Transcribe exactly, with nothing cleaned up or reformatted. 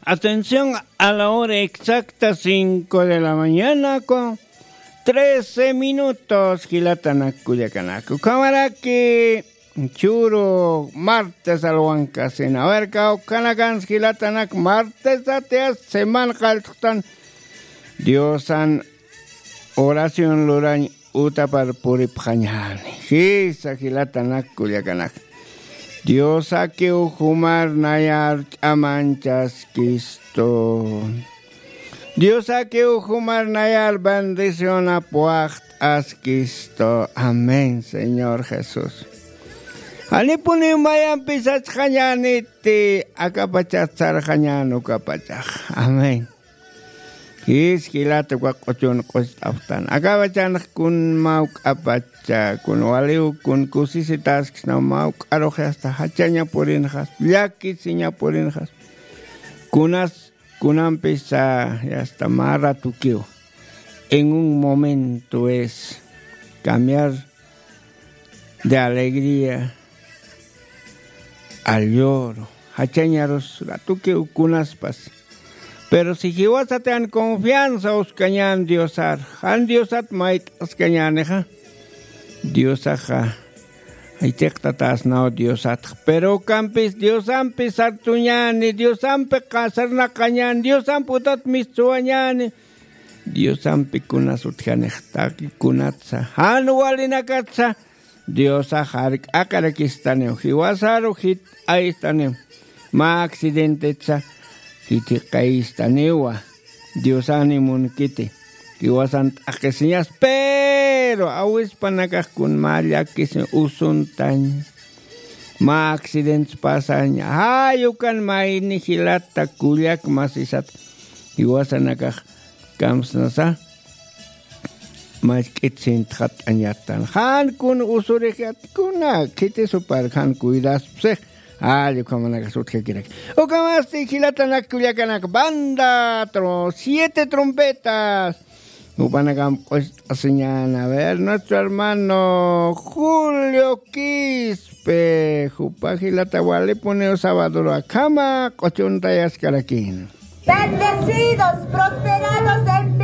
Atención, a la hora exacta, cinco de la mañana con trece minutos, jilatanak kullakanak. Ukhamaraki churu martes alwankasina. A ver, kawkhanakans jilatanak, martes atias semana qalltxtan Diosan oración lurañ utapar puripxañäni. Jisa jilatanak kullakanak. Diosakiw jumar nayar ch'amanchaskistu. Diosakiw jumar nayar bendicionap waxt'askistu. Amén, Señor Jesús. Janipuniw mayampis sachxañäniti, akapachat sarxañän ukapachax. Amén. Jis jilata uka q'uchun q'ucht'apxtan. Akapachanx kun mawk'apacha, kun waliw, kun kusisitasksna mawk'arux yasta jachaña purinxas, llakisiña purinxas. Kunas, kunampis, ah, yasta mä ratukiw. En un momento es cambiar de alegría al lloro. Jachañarus ratukiw kunaspas. Pero si jiwasat jan confianza uskañän Diosar, jan Diosat mayt'askañänixa, Diosaxa jitiqtatäsnaw Diosatx. Pero ukampis Diosampis sartuñäni, Diosampi qasarnaqañäni, Diosampi utat mistuwañäni, Diosampi kunas utjanix taqi kunatsa, jan walinakatsa, Diosax jark'aqarakistaniw, jiwasaru jit'ayistaniw, mä accidentetsa jithiqayistaniwa, Diosan munkiti, jiwasan t'aqisiñas, pero awispanakax kun mä llakisiñ usuntañ, mä accidentes pasaña, jay ukan mayni jilata kullak masisat, jiwasanakax kamsnasa, mask'it sintxat'añatan. Jan kun usurix yat kuna, khitisupar jan cuidaspsix. Ay, ukhamanakas utjakirak. Ukhamasti jilatanak kullakanak banda, tro-, siete trompetas. Jupanakam q'ust'asiñan. A ver, nuestro hermano Julio Quispe. Jupa jilata walipuniw sabadoro akhama, q'uchuntayaskarakin. Bendecidos, prosperados en